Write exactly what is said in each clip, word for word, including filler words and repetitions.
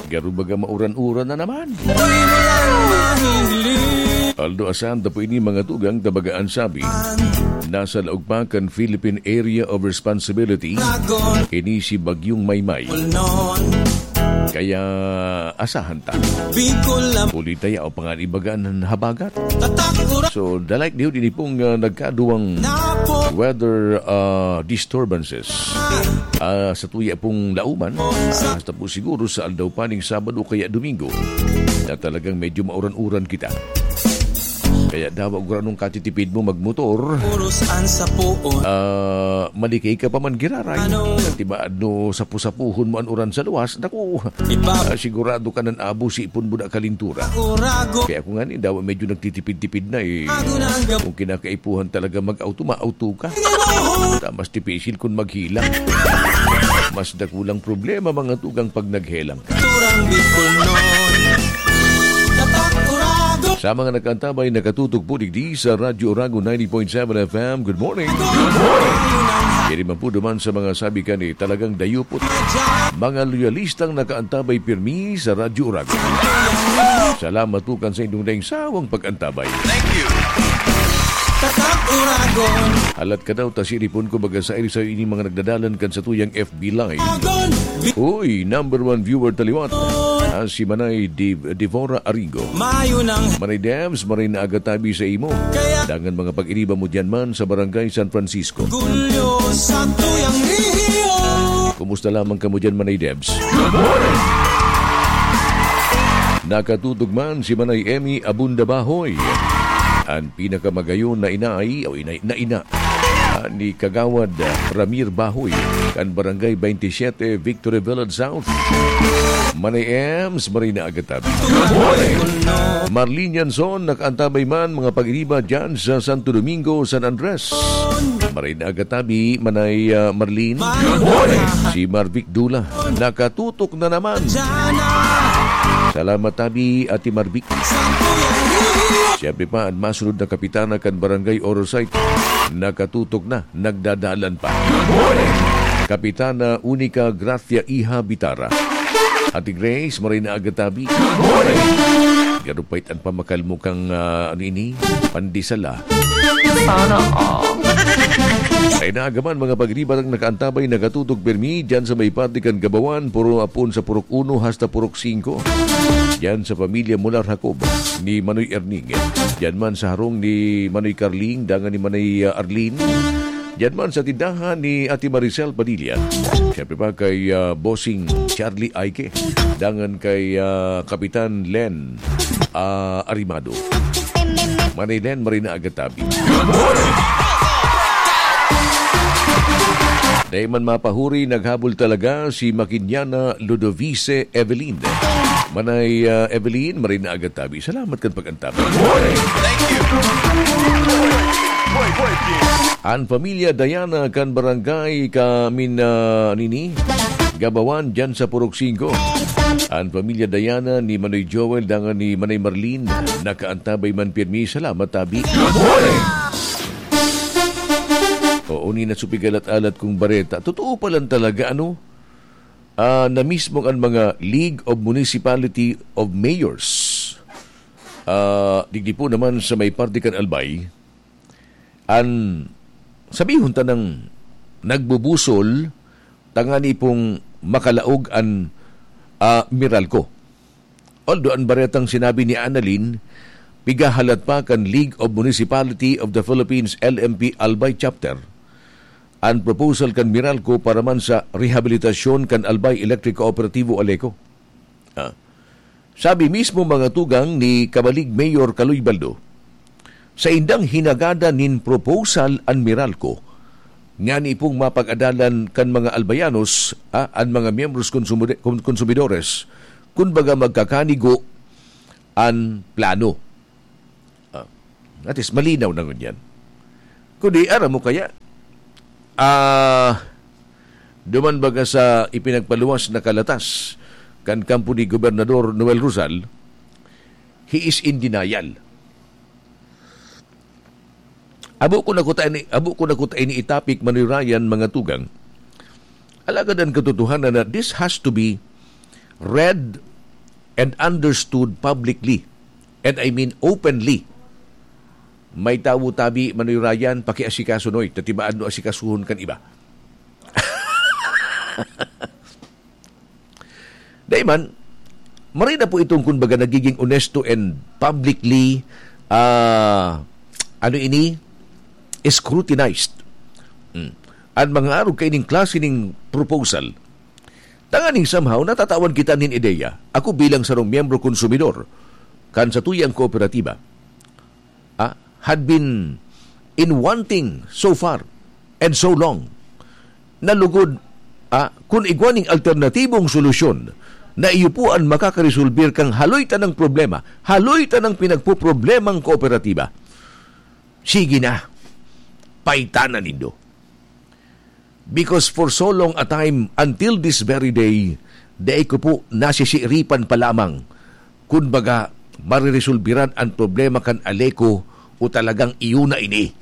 Garo baga mauran-uran na naman. Although asan ta po ini mga tugang ta baga an sabi, nasa laog pa kan Philippine Area of Responsibility, ini si Bagyong Maymay. Kaya asahan ta. Huli ta yaon pa nga ibaga an habagat. So, the likelihood ini pong, ah, nagkaduwang weather, ah, disturbances, ah, sa tuya pong lauman, ah, hasta po siguro sa aldaw pa ning Sabado kaya Domingo, na talagang medyo mauran-uran kita. Kaya dawa gurano katitipid mo magmotor, ah, malikay ka pa man giraray. Tibaad no sapu-sapuhon mo an uran sa luwas, naku, ah, sigurado ka nan abo si ipon mo na kalintura. Kaya ako nga ni, dawa medyo nagtitipid-tipid na eh. Kung kinakaipuhan talaga mag-auto, ma-auto ka. Ta mas tipisil kun maghelang. Mas dakulang problema mga tugang pag naghelang ka. Sa mga nakaantabay, nakatutok po digdi sa Radyo Oragon ninety point seven F M. Good morning. Diri man po duman sa mga sabi kani, talagang dayupot. Mga loyalistang nakaantabay pirmi sa Radyo Oragon. Salamat po kan sa indong daing sawang pag-antabay. Thank you. Halat ka daw, ta siripon ko baga sa iri sa ining mga nagdadalan kan sa tuyang F B Live. Uy, number one viewer taliwat. Ah, si Manay Div-, Divora Arigo. Manay Devs, maray na aga tabi sa imo. Dangan mga pag-iriba mo diyan man sa Barangay San Francisco. Kumusta lamang kamo diyan, Manay Devs? Nakatutok man si Manay Emmy Abunda Bahoy, an pinakamagayon na inay o inay na ina, ah, ni Kagawad, ah, Ramir Bahoy, kan Barangay twenty-seven, Victory Village South. Manay Ems, maray na aga tabi. Marlene Yanson, nakaantabay man mga pag-iriba dyan sa Santo Domingo, San Andres. Maray na aga tabi, Manay, ah, Marlene. Si Marvic Dula, nakatutok na naman. Salamat tabi, Ate Marvic. Siyempre pa, an masunod na kapitana kan Barangay Orosite, nakatutok na, nagdadalan pa. Kapitana Unica Gracia Iha Bitara. Ate Grace, maray na aga tabi. Garo pait an pamakal mo kan, ah, ano ini? Pandesal, ah. Sana all. Ay naagaman, mga pag-iriba, nakaantabay, nakatutok pirmi dyan sa may parte kan Gabawan, puro apon sa Purok Uno hasta Purok Singko. Dyan sa pamilya Mular Jacob ni Manoy Erning. Dyan man sa harong ni Manoy Carling, dangan ni Manoy, ah, Arlene. Dyan man sa tindahan ni Ate Maricel Padilla. Siyempre pa kay, ah, Bossing Charlie Aike. Dangan kay, ah, Kapitan Len, ah, Arimado. Manay Len, maray na aga tabi. Dai man mapahuri, naghabol talaga si Makinyana Ludovice Evelyn. Manay, ah, Evelyn, maray na aga tabi. Salamat kan pag-antabay. Thank you. An pamilya Diana kan barangay Kamin, ah, nini, Gabawan, dyan sa Purok Singko. An pamilya Diana ni Manoy Joel dangan ni Manay Marlene, nakaantabay man pirmi. Salamat, tabi. Oo, ni nasupigalat-alat kong bareta. Totoo pa lang talaga, ano? Ah, na mismo ang mga League of Municipality of Mayors. Ah, digdi po naman sa may parte kan Albay, an sabihon ta nang nagbubusol, tangani pong makalaog an, ah, Meralco. Although an baretang sinabi ni Annalyn, pigahalat pa kan League of Municipality of the Philippines, L M P Albay Chapter, an proposal kan Meralco para man sa rehabilitasyon kan Albay Electric Cooperativo, Aleco. Ah. Sabi mismo mga tugang ni Kabalig Mayor Kaloy Baldo, sa indang hinagada nin proposal an Meralco, ngani pong mapag-adalan kan mga Albayanos, ah, an mga miyembros konsumide-, kon-, konsumidores, kun baga magkakanigo an plano. Ah, at least malinaw na ngunyan. Kundi, aram mo kaya, ah, duman baga sa ipinagpaluwas na kalatas kan kampo ni Gobernador Noel Rosal, he is in denial. Abo ko na kuta ini, abo ko na kuta ini i-topic, Manoy Ryan, mga tugang. Alagad an katotohanan na this has to be read and understood publicly, and I mean openly. May tawo tabi, Manoy Ryan, pakiasikaso, Noy, ta ti maadno asikasuhon kan iba. Dai man, marhay na po itong, kumbaga, nagiging onesto and publicly, ah, ano ini, scrutinized. Mm. An mga arog kaining klase ning proposal, tanganing somehow natatawan kita nin ideya. Ako bilang sarong miyembro konsumidor kan satuyang kooperatiba, ah, had been in wanting so far and so long. Na lugod, ah, kun igwa ning alternatibong solusyon na iyo po an makakaresolbir kan haloy tanang problema, haloy tanang pinagpoproblemang kooperatiba, sige na, paitanan nindo. Because for so long a time, until this very day, dai ko po nasisiripan pa lamang kun baga mariresolbiran an problema kan Aleco o talagang iyo na ini.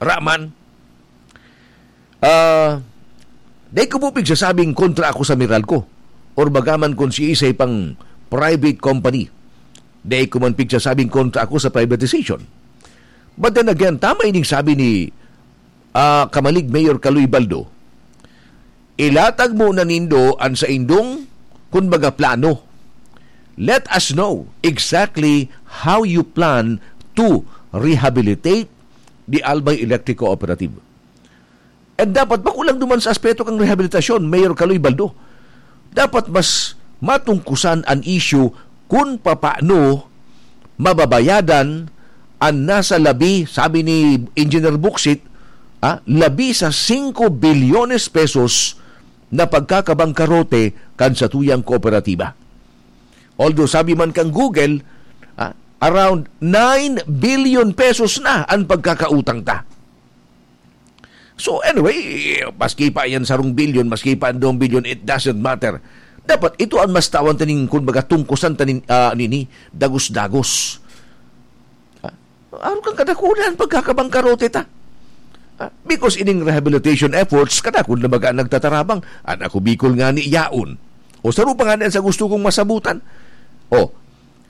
Raman, ah, dai ko po pigsasabing kontra ako sa Meralco or bagaman kung siisay pang private company. Dai ko man pigsasabing kontra ako sa privatization. But then again, tama ining sabi ni, ah, Kamalig Mayor Kaloy Baldo, ilatag mo na nindo an saindong, kun baga, plano. Let us know exactly how you plan to rehabilitate the Albay Electric Cooperative. And dapat, bako lang duman sa aspeto kan rehabilitasyon, Mayor Kaloy Baldo, dapat mas matungkusan an issue kun papaano mababayadan an nasa labi, sabi ni Engineer Buksit, ah, labi sa singko bilyones pesos na pagkakabangkarote kan satuyang kooperatiba. Although sabi man kan Google, ah, around nine billion pesos na an pagkakautang ta. So anyway, maski pa yan sarong bilyon, maski pa ang dalawang bilyon, it doesn't matter. Dapat ito ang mas tawan taning, kumbaga, tungkusan tanin, ah, nini, dagos-dagos. Ah, aron kan kadakulan, pagkakabangkarote ta. Ah, because ining rehabilitation efforts, kadakul na baga nagtatarabang. An Ako Bicol nga ni yaon. O saro pa nga na sa gusto kong masabutan. O,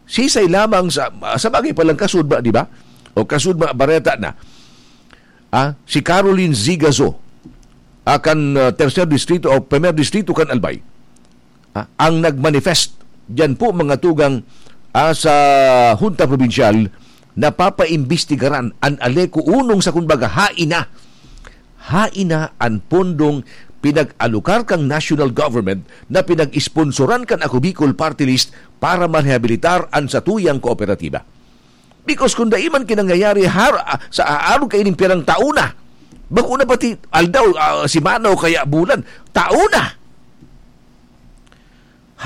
sisay lamang sa, sa bagay palang kasudma, di ba? O kasudma, bareta na. Ah, si Caroline Zigazo, ah, kan, ah, Tercer Distrito o Primer Distrito kan Albay, ah, ang nagmanifest diyan po, mga tugang, ah, sa Hunta Probinsyal na papaimbestigaran an Aleco unong sa, kumbaga, hain na. Hain na an pondong pinag-alokar kang national government na pinag-sponsoran kan Ako Bicol Party List para marehabilitar an satuyang kooperatiba. Because kung dai man kinangyayari har-, ah, sa aarog kaining pirang taon na, bako na pati aldaw, ah, semana o kaya bulan, taon na.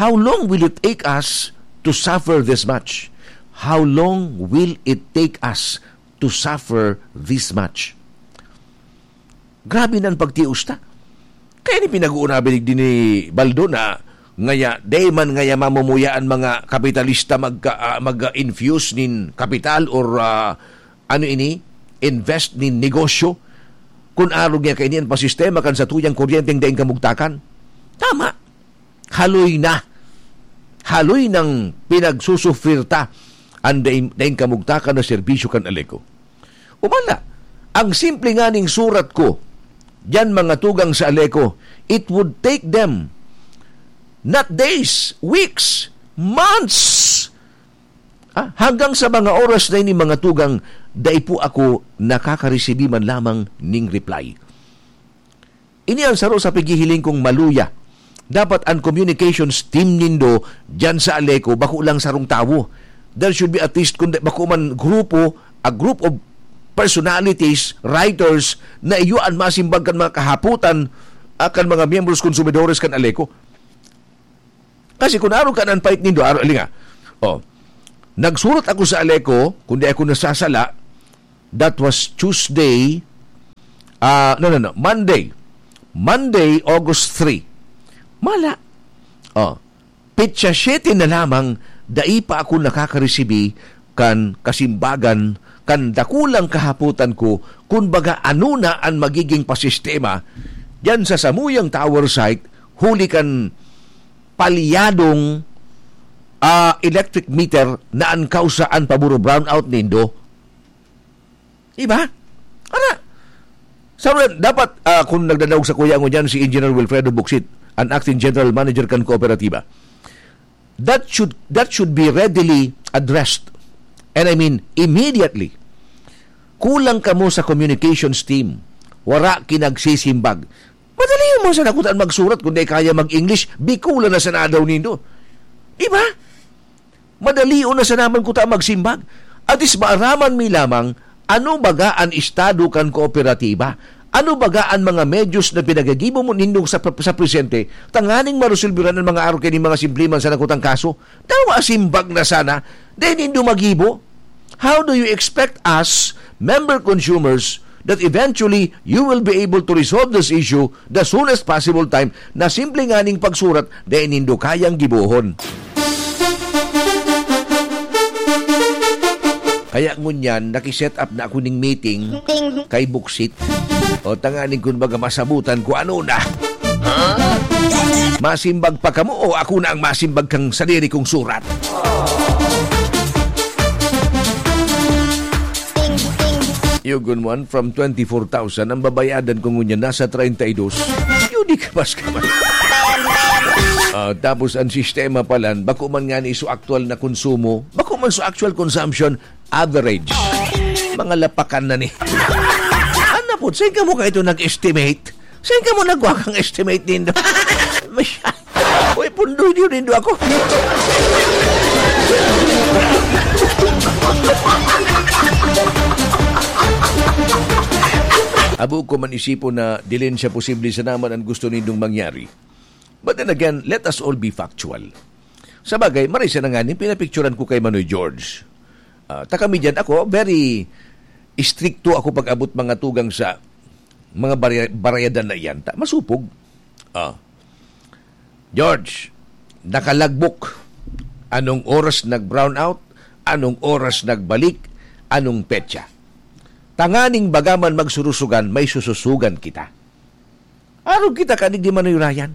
How long will it take us to suffer this much? How long will it take us to suffer this much? Grabe na an pagtios ta. Kaya ni pinag-uuna binig din ni Baldo na ngaya, dai man ngaya mamumuya an mga kapitalista magka-, ah, mag-infuse nin kapital or, ah, ano ini, invest nin negosyo. Kun arog niya kaini an pasistema kan satuyang kuryenteng daing kamugtakan. Tama. Haloy na. Haloy nang pinagsusufrir ta an daing, daing kamugtakan na serbisyo kan Aleco. Umala, ang simple nga ning surat ko, diyan mga tugang sa Aleco, it would take them not days, weeks, months. Ah, hanggang sa mga oras na ini, mga tugang, dai po ako nakakaresibi man lamang ning reply. Ini ang saro sa paghihiling kong maluya. Dapat ang communications team nindo diyan sa Aleco, bako lang sarong tawo. There should be at least, kundi bako man grupo, a group of personalities, writers, na iyo an masimbag kan mga kahapotan, ah, kan mga miyembros, konsumidores kan Aleco. Kasi kung arog kan an pait nindo, aro, ali nga. Oh. Nagsurat ako sa Aleco, kung di ako nasasala, that was Tuesday, ah, no, no, no, Monday. Monday, August three. Mala. Oh. Petsa siyete na lamang, dai pa ako nakakaresibi kan kasimbagan, kan dakulang kahapotan ko, kun baga ano na an magiging pasistema diyan sa samuyang tower site, huli kan palyadong, ah, electric meter na an kausa an paburo brownout nindo. Di ba? Ara, sa dapat, ah, kung nagdadaog sa kuya ngunyan si Engineer Wilfredo Bucsit, an acting general manager kan kooperatiba, that should, that should be readily addressed. And I mean, immediately. Kulang kamo sa communications team. Wara kinagsisimbag. Madali mo sana kuta magsurat kung di kaya mag-English, Bicolan na sana daw nindo. Di ba? Madali na sana man kuta magsimbag. At is maaraman mi lamang, ano baga an estado kan kooperatiba? Ano baga an mga medyos na pinagagibo mo nindong sa, sa presente, tanganing maresolbiran an mga arog kaini mga simple man sana kutang kaso? Dawa simbag na sana, dai nindo magibo. How do you expect us, member consumers, that eventually you will be able to resolve this issue the soonest possible time na simple nganing pagsurat, dai nindo kayang gibohon? Kaya ngunyan, naki-set up na ako ning meeting kay Bucsit. O, tanganing kun baga masabutan ko ano na. Masimbag pa kamo o ako na ang masimbag kang sadiri kong surat? Yugon mo, from twenty-four thousand, ang babayadan ko ngunyan nasa treinta y dos. Yun, di ka mas ka man. Ah, tapos ang sistema pala, bako man nga ni so actual na konsumo, bako man so actual consumption, average. Mga lapakan na ni. Ano po, saan ka mo kayo nag-estimate? Saan ka mo nagwa kang estimate nindo? Masya-, uy, pundoy niyo nindo ako. Abo ko man isipon na dilin siya posible sa naman ang gusto nindong mangyari. But then again, let us all be factual. Sa bagay, maray siya na nga ning pinapicturan ko kay Manoy George. Ah, ta kami dyan, ako, very istrikto ako pag-abot mga tugang sa mga barya-, barayadan na iyan. Ta, masupog. Ah. George, nakalagbok. Anong oras nag-brownout? Anong oras nagbalik? Anong petsa? Tanganing bagaman magsurusugan, may sususugan kita. Arog kita kadigdi manuyrayan.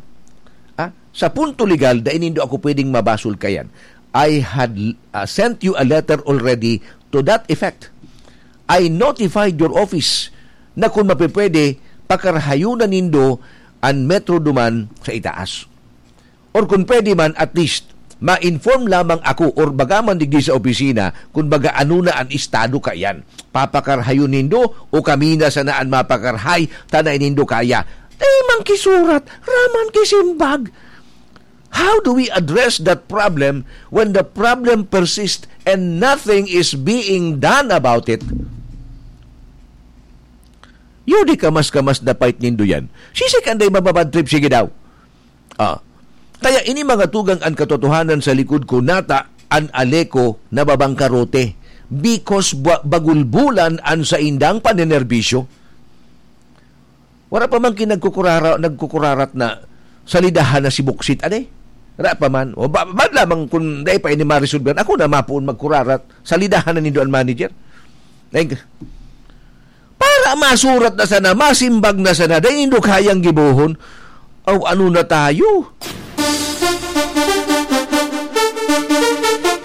Ah, sa punto legal, dai nindo ako pwedeng mabasol kayan. I had, ah, sent you a letter already to that effect. I notified your office na kung mapipwede, pakarhayon na nindo an Metro duman sa itaas. Or kung pwede man, at least, ma-inform lamang ako or baga man digdi sa opisina kung baga ano na an estado kaiyan. Papakarhayon nindo o kami na sana an mapakarhay ta dai nindo kaya? Dai man ki surat, raman ki simbag. How do we address that problem when the problem persists and nothing is being done about it? Yun, di kamas-kamas na fight nindo yan. Sisik anday mababad trip, sige daw. Ah. Kaya ini mga tugang an katotohanan sa likod ko, nata an Aleco na babangkarote because ba-, bagulbulan an saindang panenerbisyo. Wala pa man ki nagkukurara-, nagkukurarat na salidahan na si Buksit, ade? Wala pa man. O ba, ba lamang kung dai pa ini maresolvehan, ako na mapuon magkurarat, salidahan na nindo an manager. Like, para masurat na sana, masimbag na sana, dai nindo kayang gibohon. Aw, ano na tayo?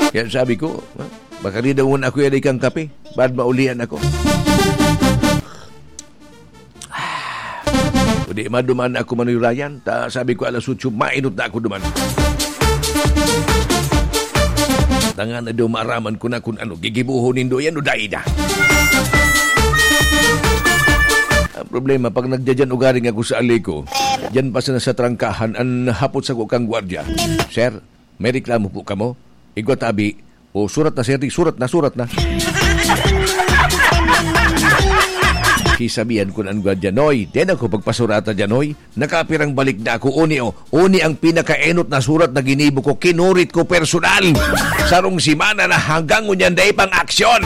Kaya sabi ko, ha? Baka rin daw ako yan ikang kape. Baad maulian ako. O di, maduman ako, Manoy Ryan. Ta, sabi ko, alas otso, mainot na ako duman. Tangan na daw maaraman ko na kung ano, gigibuhon nindo yan o dai na. Ang problema, pag nagdyan ugaring ako sa Aleco, dyan pa sana sa trangkahan, an hapot sa kukang gwardya. Sir, may reklamo po kamo? Igwa tabi, o surat na, sir, surat na, surat na. Kisabihan ko na ang gwardiya, "Noy, di na ako pagpasurata dyan, Noy. Nakapirang balik na ako, uni, o. Uni ang pinakaenot na surat na ginibo ko, kinurit ko personal. Sarong semana na hanggang ngunyan dai pang aksyon."